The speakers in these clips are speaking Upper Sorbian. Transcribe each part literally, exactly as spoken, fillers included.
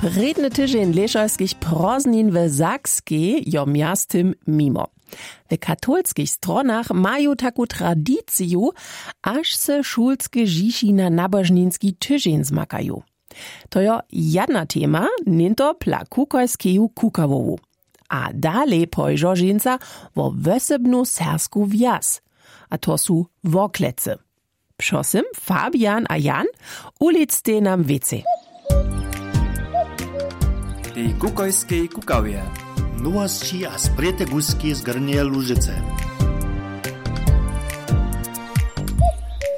Prědny tyźeń lěšojskich prózdnin w Sakskej jo mjeztym mimo. W katolskich stronach maju taku tradiciju, až se šulske žiši na nabožninski tyźeń zmakaju. To jo jedna tema, něnto pla kukojskeju kukawowu. A dalej požo ženca wo wosebnu sersku wjaz. A to su Worklecy. Přosym, Fabian a Jan, ulictej nam wěcej. Tej kukojskej kukawje. Nowosći a sprěte guski z Grnjeje Łužicy.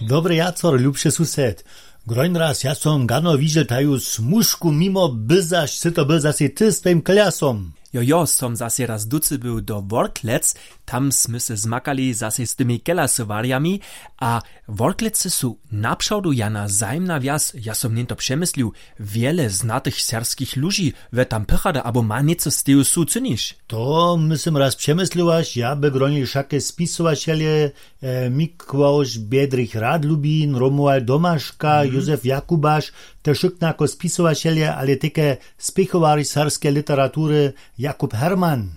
Dobry jacor, lubše sused. Groń raz, ja som gano widźel taju smužku mimo, byzaš sy to był zasej ty z twojim kljasom. Jo jo, som zasej raz ducy był do Worklec. Tam smy se zmakali zasej z tymi kelasowarjami. A Worklecy su napřawdu jana zajimna wjaz. Ja som něnto přemyslił, wjele znatych serskich ludźi we tam pychada abo ma něco steju su cyniš. To my sym raz přemysliłaš, ja by gronili wšake spisowaćelje, mikławš bjedrich radlubin, romuald domaška, józef jakubaš, te wšyknako spisowaćelje ale teke spěchowarj serbskeje literatury, jakub hermann.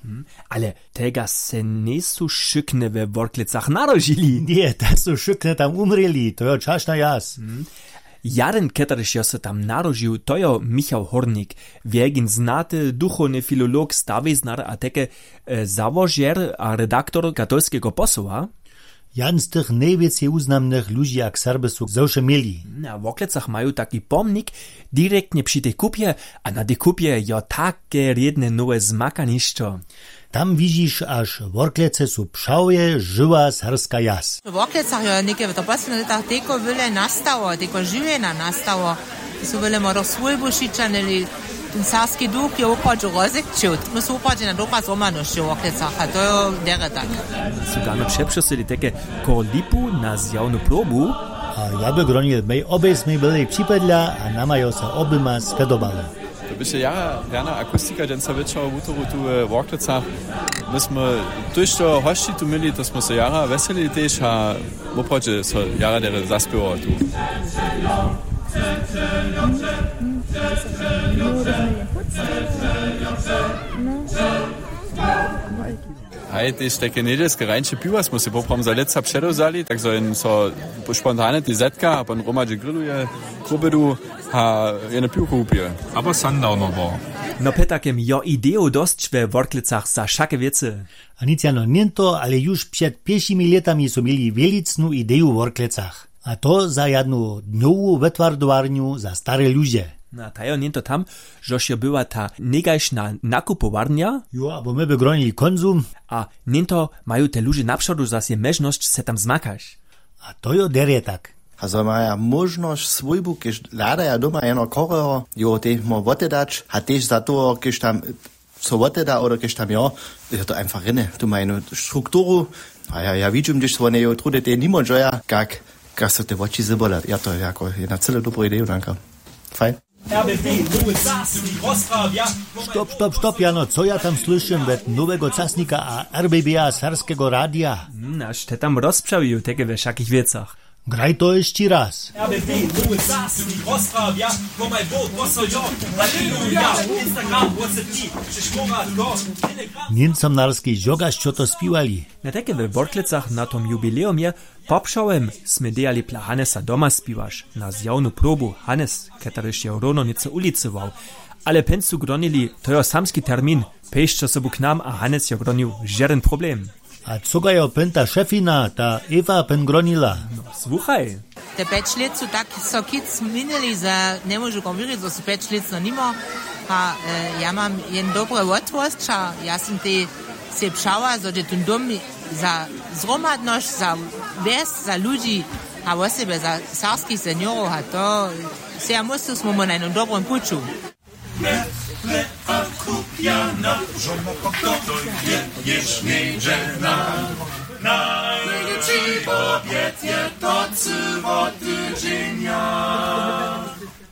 Ale tegaž se njejsu wšykne we worklecach narodźili. Ně, te su wšykne tam umrěli, to jo čašna jas. Jaden keterž jo se tam narodźił, to jo michał hórnik, wjelkin znaty duchowny filolog stawiznar a teke załožer a redaktor katolskeho posoła. Jan z tych nejwěcej wuznamnych ludźi a k serby su ze wše měli. Na worklecach maju taki pomnik direktnje při tej kupje. A na tej kupje jo take rědne nowe zmakanišćo. Tam widźiš až worklece su přałje žywa serska jaz. W worklecach jo něke w to poslednje lětach tejko wyle nastało tejko žiwjena nastało. Su wyle młodych swójbu šićanili. Ten serbski duch je woprawdźe rozekćił. My su woprawdźe na dobra zhromadnosć w worklecach a to jo derje tak. Su gano přepřosyli teke kor lipu na zjawnu probu. A ja by gronil mej obejsmej byli připadla a nama jo se obyma spedobało. To běše jara rjana akustika dźensa wječor wutoru tu we worklecach. My smy tójšto hosći tu měli to smy so jara wjeselili tež a woprawdźe so jara derje zaspěwało tu. Haj tež tajke njedźelske rańše piwa smy sej poprawom za lětsa předewzali tak zo jen so spontane tež zetka a pon hromadźe grilluje, krubydu a jeno piwko wupije. Abo sundownowo. No pjetakem jo idejow dosć we worklecach za wšake wěcy. A nic jano něnto ale juž před pěšimi lětami su měli wělicnu ideju w worklecach. A to za jadnu dnjowu wetwardowarnju za stare ludźe. Na tajo něnto tam, žož jo była ta někajšna nakupowarnja. Jo abo my by gronili konsum. A něnto maju te ludźe napřodu zasej mježnosć se tam zmakać. A to jo derje tak. A zo maja móžnosć swójbu kiž hladaja doma jeno choreho jowo tež móhł wotedać a tež za toho kiž tam so woteda oder kiž tam jo. Je to einfach rěne tu ma jenu strukturu. A ja ja widźim hdyž so wone jowo trudy tej nimo dźoja kak kak so te woči zybola ja to jako jedna cyle dobru ideju danka. Fajn. Stop stop stop jano co ja tam słyšym wot nowego casnika a r b b a serbskeho radija? Naš te tam rozpřawił teke we wšakich wěcach. Graj to hišći raz. Němcom narski žogaš čoto spiwali. Na teke we worklecach na tom jubilejom je. Popřałem smy dejali pla hanesa doma spiwaš na zjawnu probu hanes ketaryž je równo něco ulicował. Ale pyn su gronili to jo samski termin. Pejšće sobu k nam a hanes jo gronił žeden problem. A cogajo pynta šefina ta ewa pyn gronila? No słuchaj. Te pjeć lět su tak so kic změnili zo njemóžu kom wěrić zo su pjeć lětno nimo. A ja mam jen dobre wotwosća ja sym tej sej přała zo dźe tón dom za zhromadnosć za wjes za ludźi a wosebje za serbskich seniorow a to sej ja myslu smy mu na jednym dobrim puću.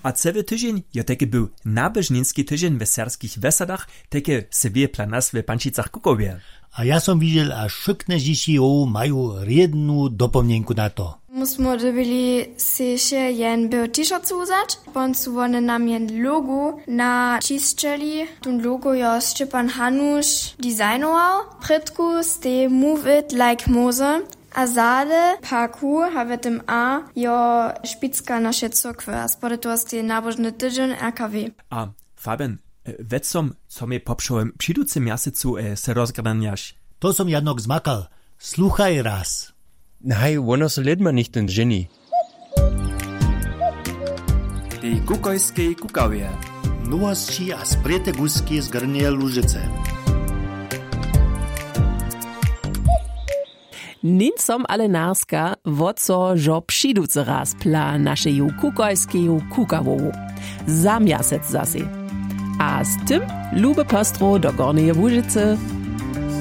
A cyły tyźeń jo tajki był nabyžninski tyźeń w serbskich wjesadach. Tajke se wěje pla nas w pančicach kukowje. A ja som widźel, a wšykne dźěći jow maju rědnu dopomnjenku na to. My smo dyrbili sej wše jen běłu t-shirtu wzać, pon su wone nam jen logo na čisćeli. Tón logo jo Šćepan Hanuš designował. Prědku stej Move It Like Moser, a zady paku ha w tym a jo špicka naše cyrkwje a spody toho stej nabožny tydźeń R K W. A Fabian, wěc som, co mje popřołym přiducym mjasecu se rozgradanjaš. To som jadnok zmakal. Sluchaj raz. Haj, wono so lědma nichtyn ženi. Tej kukojskej kukawje. Nowosći a sprěte guski z Grnjeje Łužicy. Nin som ale narska, wot so žo přiducy raz pla našeju kukojskeju kukawowu. Za mjasec zasej. A z tym lube postrow do Gornjeje Łužicy.